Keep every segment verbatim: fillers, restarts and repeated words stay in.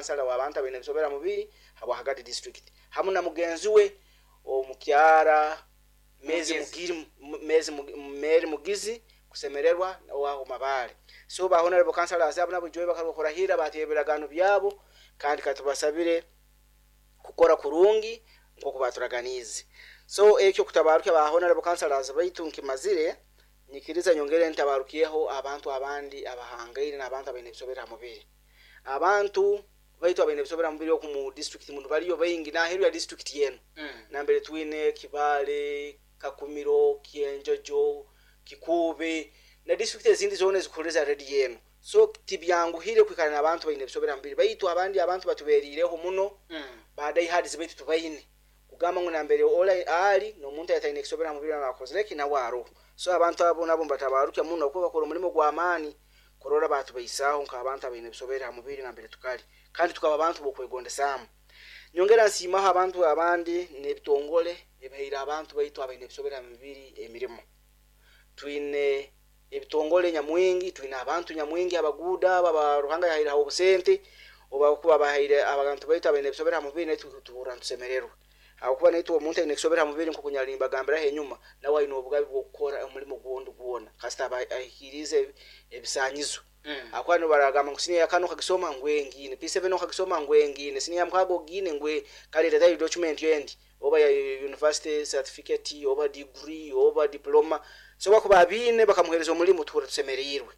Kansala w'abantu abaine ebisobera mubiri habwa Kagadi District, hamu na mugenzi we omukyara Mezi. Mugezi. Mugiri Mezi Mary Mugizi kusemererwa owaho Mabale. So ba honorable councillors abo nabo joy bakarahira, bateye ebiragano byabo, kandi katubasabire kukora kurungi nkoku baturaganize. So ekyo kutabaruka ba honorable councillors baitu nkimazire, nyikiriza nyongere ntabarukiyeho abantu abandi abahangaire n'abantu abaine ebisobera mubiri. Abantu baitu abaine ebisobera mubiri oku mu district muno baliyo baingi n'aheru ya district yenu, Mm. nambere twine Kibale, Kakumiro, Kyenjojo, Kikuube na district ezindi zona ezikuhuriza redi yenu. So tibyanguhire kwikara n'abantu baine ebisobera mubiri, baitu abandi abantu batuberireho muno, Mm. badiehards baitu tubaine kugamba ngu nambere ola ali n'omuntu ayataine ekisobera mubiri nakozereki nawe aroho. So abantu abo nabo mbatabarukya muno kuba bakora omulimo gw'amaani kurora batubaisaho nk'abantu abaine ebisobera ha mubiri nambere tukali, kandi tukaba abantu bokwegondesaamu. Nyongera nsiimaho abantu abandi n'ebitongole ebihaire abantu baitu abaine ebisobera ha mibiri emirimo. Twine ebitongole nyamwingi, twine abantu nyamwingi abaguuda abo aba Ruhanga yahaire obusente oba kuba bahaire abantu baitu abaine ebisobera ha mubiri, naitwe tuhurra nitusemererwa, habwokuba naitwe omuntu aine ekisobera ha mubiri, nkoku nyali mbagambiraho enyuma, nawe aine obugabe bw'okukora omulimo gwondi gwona kasita aba ahikiriize ebisanyizo. Mm. Akuba nibaragamba ngu siniya yakano okagisoma ngwengine, P seven okagisoma ngwengine, siniya ya mukaaga ogine ngwe kale letayo document endi, oba ya university certificate oba degree oba diploma. So bakuba abiine bakamuhereza omulimu, tuhurra tusemeriirwe.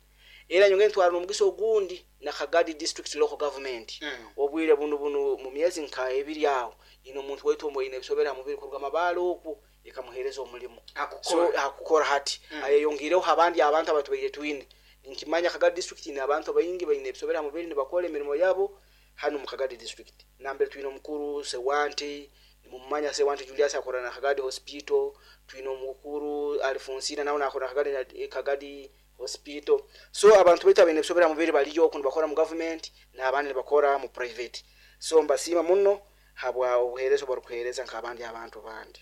Era nyongere ntwara n'omugisa ogundi na Kagadi District Local Government, Mm. obwire bunu bunu mu myezi nka ebiri aho ine omuntu waitu omwaine ebisobera ha mubiri kuruga Mabaale okwo ekamuhereza omulimu. So Akukora. Akukora hati. Mm. Ayeyongireho abandi abantu abatubaire twine. Nkimanya Kagadi District ine abantu baingi baine ebisobera ha mubiri, nibakora emirimo yabo hano mu Kagadi District, nambere twine omukuru Sewanti, nimumanya Sewanti Julius, akora na Kagadi Hospital. Twine omukuru Alfonsina, nawe nakora Kagadi, Kagadi Hospital. So abantu baitu abaine ebisobera ha mubiri baliyo oku nibakora mu government n'abandi nibakora mu private. So mbasiima muno habwa obuheereza obubarukuheereza nk'abandi abantu bandi.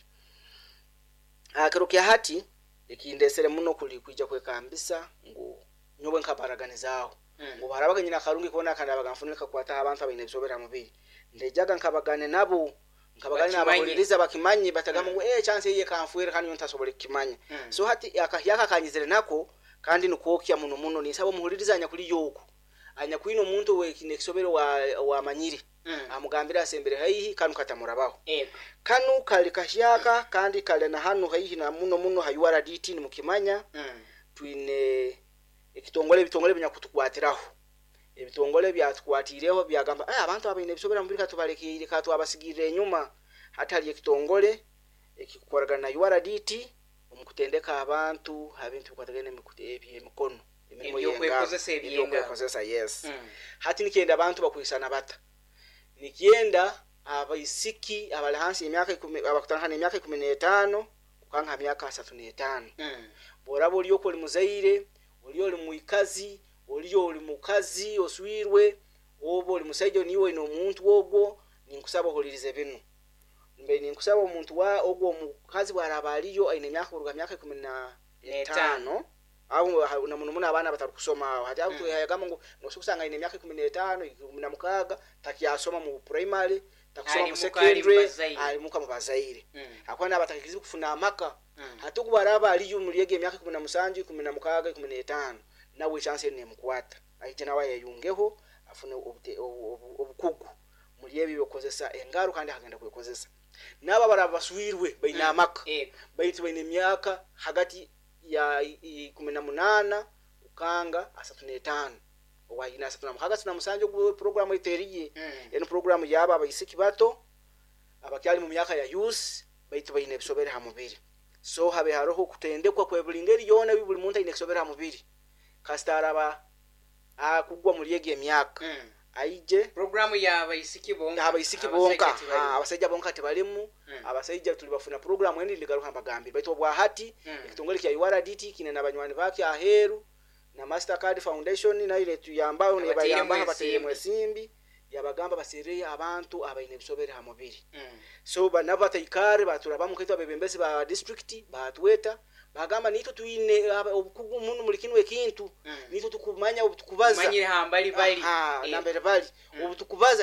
Ah, kiro kya hati ekindesere muno kuli kwija kwekambisa ngu nyowe nkabaraganizaaho Mm. ngu barabaga nyina akarungi kona kandi abaga nfunire kakwataho abantu abaine ebisobera ha mubiri, ndejaga nkabagane nabo, nkabagane Bakimanye. Nabahuliriza bakimanye, batagamba Mm. ngu eh chance iye kanfwere kandi nyo ntasobole kukimanya. Mm. So hati akahyaka kanyizire nako kandi nikwokya muno muno. Ninsaba omuhuliriza anyakuli yoku anyakwine omuntu wekine ekisobero wa wamanyire, Mm. amugambire asembere haihi kanu katamurabaho. Ego. Kanu kali kahyaka kandi kali na hanu haihi na muno muno ha U R D T, nimukimanya. Mm. Twine ekitongole, ebitongole binyakutukwatiraho, ebitongole byatukwatireho byagamba, "Eh, abantu abaine ebisobera mubiri katubalekeire, katwabasigirire enyuma." Hati hali ekitongole ekikukoragana na U R D T omu kutendeka abantu ha bintu bikwatagana ebyemikono, emirimo y'engaro. Ebyokwekozesa eby'engaro. Ebyokwekozesa, yes. Mm. Hati nikyenda abantu bakwisana bata, nikyenda abaisiki abali hansi y'emyaka ikumi, abakutandika n'emyaka ikumi n'etaano kukanga ha myaka asatu n'etaano. Mm. Bworaba oli okwo oli muzaire, oli oli mwikazi, oli oli mukazi oswirwe, oba oli musaija niwe oine omuntu ogwo, ninkusaba ohulirize binu. Mbe ninkusaba omuntu wa ogwo omukazi bwaraba aliyo aine emyaka kuruga myaka ikumi na etaano aho ha- na muno muno abaana batarukusoma aho hati abo, Mm. twehayagamba ngu nosobola kusanga aine emyaka ikumi n'etaano, ikumi na mukaaga, takyasoma mu primary, takusoma Ali mu muka, ali mu secondary, bazaire. Ali muka mu bazaire, Mm. akuba nabatakirize kufuna amaka. Mm. Hati ogu bwaraba aliyo muri ego emyaka ikumi na musanju, ikumi na mukaaga, ikumi n'etaano, nawe echance enu nemukwata, aije nawe ayeyungeho afune obute- obu- obu- obukugu muri ebyo byokukozesa engaro kandi akagenda kwekozesa. N'abo abaraba baswirwe baine Mm. amaka, Ego. baitu baine emyaka hagati ya ikumi na munaana kukanga asatu n'etaano, owayine asatu na mukaaga, asatu na musanju, ogwo programu eteriye. Mm. Eno programu yabo abaisiki bato abakyali mu myaka ya youth baitu baine ebisobere ha mubiri. So habe haroho kutendekwa kwe buli ngeri yoona, buli muntu aine ekisobere ha mubiri kasita araba akugwa muri ego emyaka, Mm. aije. Programu y'abaisiki bonka? Abaisiki Abasaija bonka. tibalimu. Ah, abasaija bonka tebalimu. Mm. Abasaija tuli bafuna programu endi ndigaruka mbagambire, baitu obwa hati Mm. ekitongole kya U R D T kine n'abanywani bakyo aheeru na Mastercard Foundation nayo netuyambaho. Abateiremu nebayambaho, bateiremu ensimbi. Ensimbi yabagamba baserere abantu abaine ebisobere ha mubiri. Mm. So banabo bataikare baturabamu kaitu abebembezi ba district batweta, bagamba nitwe twine aba- obukugu muno muri kinu ekintu, Mm. nitwe tukumanya obu tukubaza. Manyire hambali bali. Aha, Eh. nambere bali, Mm. obu tukubaza.